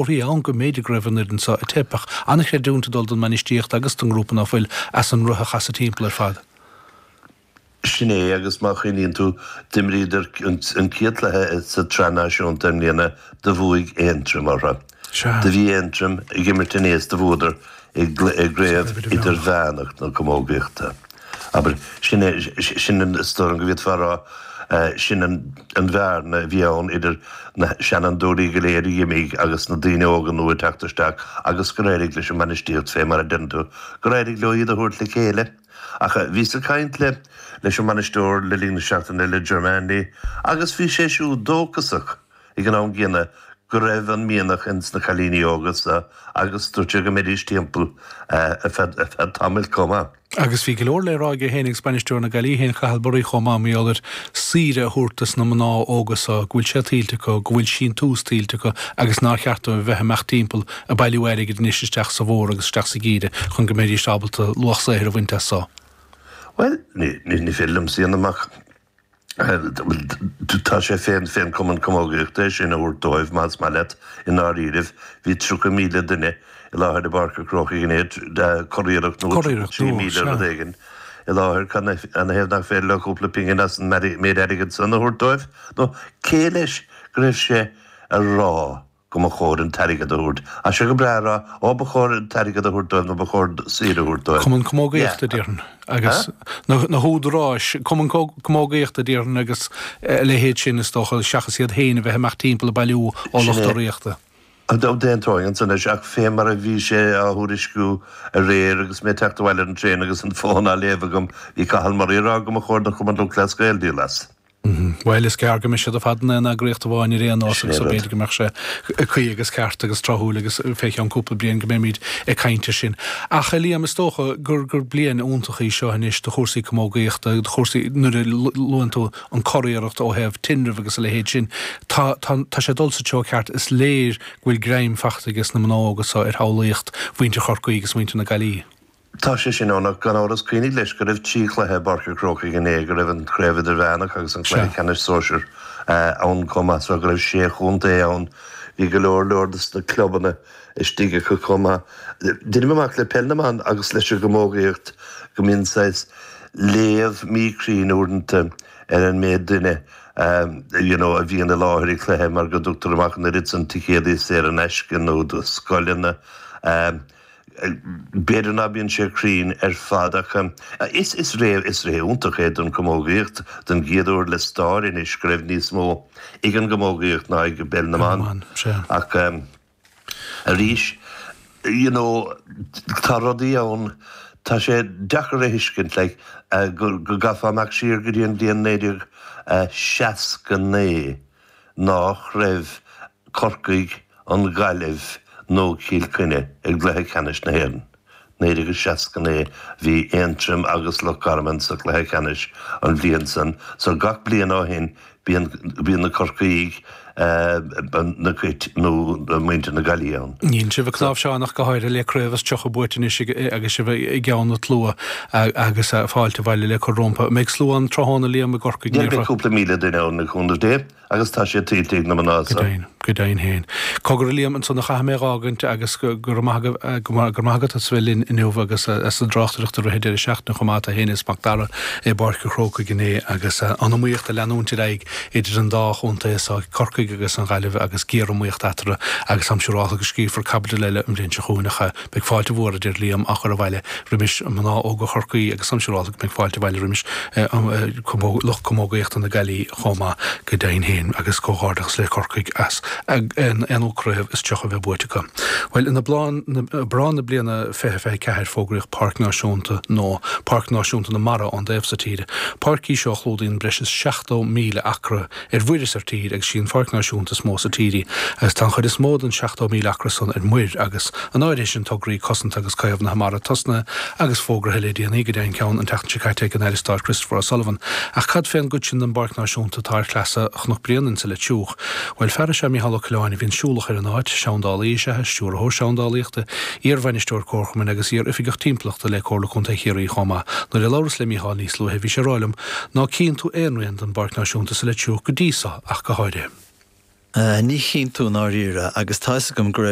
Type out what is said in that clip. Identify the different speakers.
Speaker 1: Comharthaí ann go mb'fhéidir go raibh an fhoireann seo ag teip ach an-chreidiúint ag dul don mbainistíocht agus don ngrúpa ná fuil as an roth a chasadh timpeall ar fad.
Speaker 2: Sin é agus má chuimhníonn tú, d'imríodar an chéad chluiche sa tSraith Náisiúnta i mbliana, do bhuaigh Aontroim orthu.
Speaker 1: Sea.
Speaker 2: Do bhí Aontroim ag imirt inné is do bhuadar i gCraobh Idirmheánach na Camógaíochta. Abair, sin é, sin an, is dóigh liom go bhféadfá a rá, sin an bhearna a bhí ann idir na seanfhondúirí go léir a d'imigh agus na daoine óga nua ag teacht isteach agus gur éirigh leis an mbainistíocht fé mar a deireann tú, gur éirigh leo iad a thabhairt le chéile. Ach bhíos ag caint le, leis an mbainisteoir le linn na seachtaine, le Ger Manley, agus bhí sé siúd dóchasach. ag an am gcéanna go raibh an mianach ins na cailíní óga so agus dúirt sé go mbeidís timpeall ar feadh tamaill chomh maith.
Speaker 1: Agus bhí go leor le rá aige féin agus bainisteoir na Gaillimhe féin, Cathal Murray chomh maith, mar gheall ar saoire a thabhairt dos na mná óga so, go bhfuil sé tuillte acu, go bhfuil síntiús tuillte acu agus nár cheart dóibh a bheith ag imeacht timpeall ag bailiú airgid anois isteach sa bhfómhar agus isteach sa gheimhreadh chun go mbeidís ábalta luach saothair a bhaint as so.
Speaker 2: Bhuel, ní féidir liomsa a dhéanamh amach. Tá sé fén fén Cumann Camógaíochta é sin a thabhairt dóibh, más maith leat, i ndáiríribh. Bhí 30,000 duine i láthair i bPáirc an Chrócaigh inné, curiarracht nua, 33,000 rud éigin i láthair. Cad ina thaobh nach féidir leo cúpla pingin as an méid airgid san a thabhairt dóibh? Nó cé leis go raibh sé a rá? go mba chóir an t-airgead a thabhairt. Tá sé go breá a rá, ó ba chóir an t-airgead a thabhairt dóibh nó ba chóir saoire a thabhairt dóibh.
Speaker 1: Cumann Camógaíochta, déarfainn, agus na húdaráis, Cumann Camógaíochta, déarfainn, agus a leithéid sin, is dócha, seachas iad féin a bheith ag imeacht timpeall ag bailiú ó lucht urraíochta.
Speaker 2: D'aontóinn ansan leis, ach fé mar a bhí sé á thuairisciú aréir agus mé ag teacht abhaile ar an traein agus an fón á léamh agam, bhí Cathal Murray ag rá go mba chóir don Chumann Lúthchleas Gael díol as.
Speaker 1: Bhuel, is gearr go mbeidh siad ar fad in aon eagraíocht amháin ar aon nós agus b'fhéidir go mbeadh sé cuí agus ceart agus tráthúil agus fé cheann cúpla bliain go mbeimid ag caint air sin. Ach, a Liam, is dócha gur gur bliain iontach í seo anois do chúrsaí camógaíochta, do chúrsaí, nuair a luann tú an curiarracht ó thaobh tinreamh agus a leithéid sin, tá, tá, tá sé ag dul sa treo ceart. Is léir go bhfuil greim fachta ages na mná óga so ar shamhlaíocht mhuintir Chorcaí agus mhuintir na Gaillimhe.
Speaker 2: Tá sé sin ann, ach gan amhras cuimhnigh leis go raibh 3 chluiche i bPáirc an Chrócaigh inné, go raibh an Chraobh Idirmheánach agus an Cluiche Ceannais Sóisir ann chomh maith, so go raibh sé chontae ann. Bhí go leor leor des na clubanna istigh acu chomh maith. Deirim amach le Peil na mBan agus leis an gcamógaíocht go mbíonn saghas léamh míchruinn uaireanta ar an méid duine you know a bhíonn i láthair ag cluiche mar go dtugtar amach an oiread san ticéadaí saor in aisce nó do scoileanna. B'fhéidir ná bíonn sé cruinn ar fad ach is is ré is ré iontach é don chamógaíocht, don gcéad uair le stair anois go raibh níos mó ag an gcamógaíocht ná ag bpeil na mban. Ach arís you know tá rudaí ann tá sé deacair a thuiscint like go go gcaithfeá imeacht siar go dtí an bhliain 1969 nách raibh Corcaigh, an Ghaillimh nó Cill Chainnigh i gcluiche ceannais na hÉireann. 1969 bhí Aontroim agus Loch Garman sa chluiche ceannais an bhliain san so gach bliain ó shin bíonn bíonn na Corcaígh, na Cait nó muintir na Gaillimhe ann.
Speaker 1: Níl sibh ag cnáimhseán ach go háirithe le craobh is 30 buaite anois agus sibh i gceann an tslua agus fáilte abhaile le cur rompu. An mbeidh slua ann tráthnóna Liam i gCorcaigh?
Speaker 2: Beidh cúpla 1,000 duine ann le cúnamh Dé. Agus tá sé tuillte ag na mná
Speaker 1: so. Go deimhin, go deimhin féin. Cogar a Liam, ansan a chaithfidh mé a dh'fhágaint agus go raibh maith agaibh, go raibh maith agat as a bheith linn inniu agus as an dtráchtaireacht i rith an deireadh seachtaine chomh maith, tú féin is Mac Dara i bPáirc an Chrócaigh inné agus an iomaíocht ag leanúint ar aghaidh idir an dá chontae so, Corcaigh agus an Ghaillimh agus géariomaíocht eatarthu agus táim siúrálta go scríobhfar caibidil eile an bhliain seo chugainn ach Beidh fáilte mhór, a deir Liam, á chur abhaile roimis mná óga Chorcaí agus táim siúrálta go mbeidh fáilte abhaile roimis lucht camógaíochta na Gaillimhe chomh maith, go deimhin féin, agus comhghairdeachas le Corcaigh as an aonú craobh is 30 a bheith buaite acu. Bhuel, in Aibreán na bliana 2024 fógraíodh Páirc Náisiúnta nua, Páirc Náisiúnta na Mara ón dtaobh so tíre. Páirc í seo a chlúdaíonn breis is 70,000 acra ar mhuir is ar tír agus sí an pháirc náisiúnta is mó sa tír í agus tá an chuid is mó den 70,000 acra san ar muir agus an áirithe sin tograí cosanta agus caomhnaithe mara tosnaithe agus fógraithe le déanaí, go deimhin ceann an tseachtain seo caite ag an Aire Stáit Christopher O'Sullivan. Ach cad fén gcuid sin den bpáirc náisiúnta atá ar shleasa Chnoc Bréanainn sa Leitir Fhiuch? Bhuel, fear is ea Micheál Ó Coileáin a bhíonn siúlach ar an áit, seandálaí is ea é, stiúrthóir seandálaíochta, iar-bhainisteoir comharchumainn agus iar-oifigeach timpeallachta le Comhairle Contae Chiarraí chomh maith. Nuair a labhras le Micheál níos luaithe bhí sé ag rá liom ná cíonn tú aon rian den bPáirc Náisiúnta sa Leitir Fhiuch go dtí so ach go háirithe.
Speaker 3: Ní chinntiú i ndáiríre, agus tá 'fhios agam go raibh.